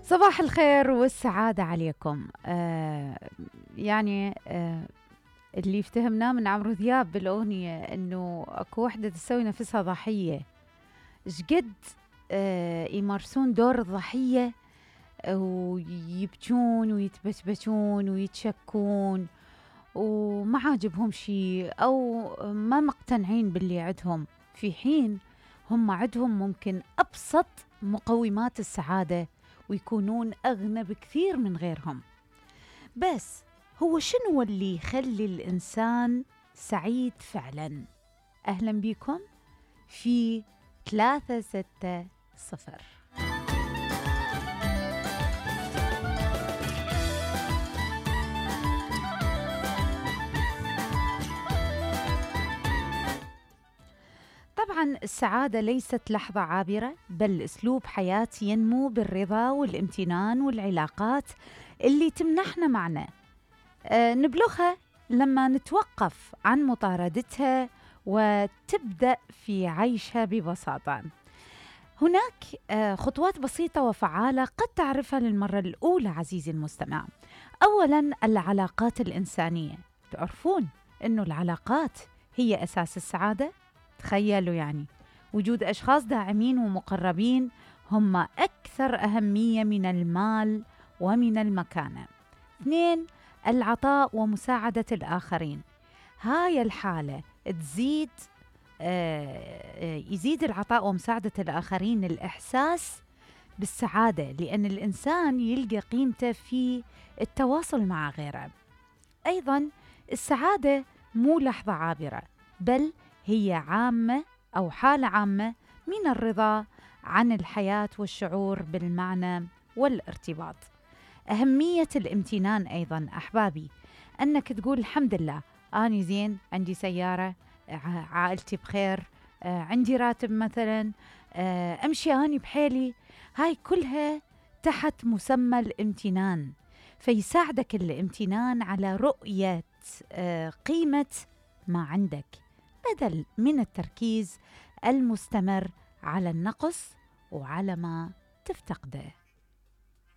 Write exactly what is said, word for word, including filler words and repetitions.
صباح الخير والسعادة عليكم. آه يعني آه اللي افتهمناه من عمرو دياب بالأغنية إنه أكو وحدة تسوي نفسها ضحية. شقد آه يمارسون دور الضحية ويبكون ويتبشبشون ويتشكون وما عاجبهم شيء أو ما مقتنعين باللي عندهم، في حين هم عندهم ممكن أبسط مقومات السعادة ويكونون أغنى بكثير من غيرهم. بس هو شنو اللي يخلي الإنسان سعيد فعلا؟ أهلا بكم في ثلاثة ستة صفر. طبعا السعادة ليست لحظة عابرة، بل أسلوب حياة ينمو بالرضا والامتنان والعلاقات اللي تمنحنا معنى. أه نبلغها لما نتوقف عن مطاردتها وتبدأ في عيشها ببساطة. هناك أه خطوات بسيطة وفعالة قد تعرفها للمرة الأولى عزيزي المستمع. أولا، العلاقات الإنسانية. تعرفون أنه العلاقات هي أساس السعادة؟ تخيلوا يعني وجود أشخاص داعمين ومقربين هم أكثر أهمية من المال ومن المكانة. اثنين، العطاء ومساعدة الآخرين. هاي الحالة تزيد آه يزيد العطاء ومساعدة الآخرين الإحساس بالسعادة، لأن الإنسان يلقى قيمته في التواصل مع غيره. أيضا السعادة مو لحظة عابرة، بل هي عامة أو حالة عامة من الرضا عن الحياة والشعور بالمعنى والارتباط. أهمية الامتنان أيضا أحبابي، أنك تقول الحمد لله أنا زين، عندي سيارة، عائلتي بخير، عندي راتب مثلا، أمشي أنا بحيلي. هاي كلها تحت مسمى الامتنان، فيساعدك الامتنان على رؤية قيمة ما عندك بدل من التركيز المستمر على النقص وعلى ما تفتقده.